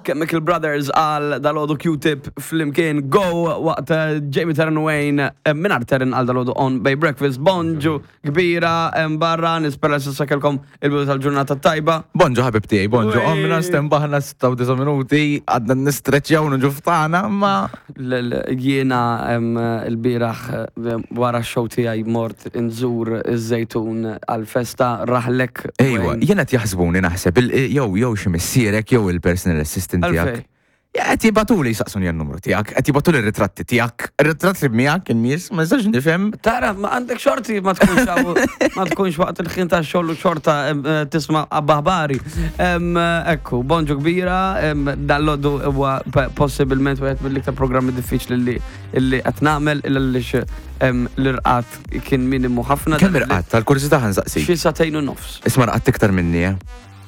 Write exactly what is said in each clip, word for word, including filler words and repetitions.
Chemical Brothers għal dalgħodu Q-Tip flimkien Go waqt eh, Jamie Taryn Wayne eh, mingħajr Taryn għal dalgħodu on Bay Breakfast. Bonġu kbira em, barra, nispera s'issa kellkom il-bidu tal-ġurnata tajba. Bonġu ħabib tiegħi, bonġu. Wej. Qomna stenbaħna sitta u disa' minuti, għadna nistreċjaw nġu ftana, ma. L- l- Jiena em, il-bieraħ eh, wara x-show tiegħi mort inżur iż-Żejtun għal-festa raħlek. Ejwa, Wayne. jiena qed jaħsbuni naħseb, il- jew jew xi missierek jew il-personal assistant Għalfej? tiegħek. Ja, qed jibagħtuli jisaqsuni n-numru tiegħek, qed jibagħtuli r-ritratti tiegħek, ir-ritratti miegħek in-nies, ma nistax nifhem. Tara, ma għandek xorti ma tkunx għaw- ma tkunx waqt il-ħin ta' xogħol u xorta em, eh, tisma' aħbari. Em, Ekku, bonġu kbira, em, dalgħodu huwa p- possibilment wieħed mill-iktar programmi diffiċli li li qed nagħmel għaliex em, l-irqad kien minimu ħafna. Kemm irqadt tal-kurżità ħa nsaqsi? Xi sagħtejn u nofs. Isma' rqadt iktar minni, eh.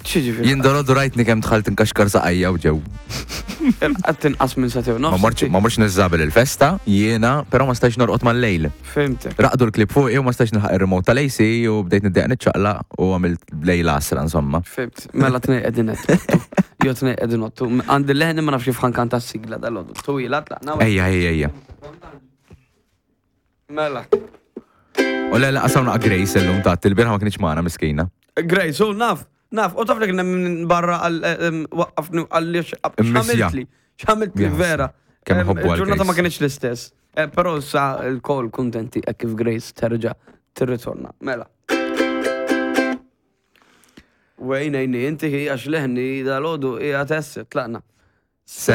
X'jiġifieri? Jien dalgħodu rajtni kemm dħalt inkaxkar saqajja u ġew. Irqadt inqas minn sagħtejn u Ma nofs. mortx ma mortx niżżabel il-festa, jiena, però ma stajx norqod mal-lejl. Fhimtek. Raqdu l-klieb fuqi u ma stajx nilħaq ir-remote tal-A C u bdejt niddejjaq niċċaqlaq u għamilt lejl għasra insomma. Fhimt. Mela tnejn qegħdin qed. Jo tnejn qegħdin ottu. Għandi leħni ma nafx kif ħa nkanta s-sigla dalgħodu. Twila tlaqna. Ejja, ejja, ejja. Mela. U le, laqas hawn Grace illum ta' il-bieraħ ma kienx magħna miskina. Grace, u naf, naf, u taf li kien hemm barra għal em, waqqafni għalli Immissja. x'għamiltli, x'għamiltli Yes. vera. Kemm Em, ħobbu għal Il-ġurnata ma Grace. kienx l-istess. Eh, Però sa il-kol kontenti hekk kif Grace terġa' tirritorna. Mela. Wejn ejni, inti hi għax leħni dalgħodu hija tess, tlaqna. Se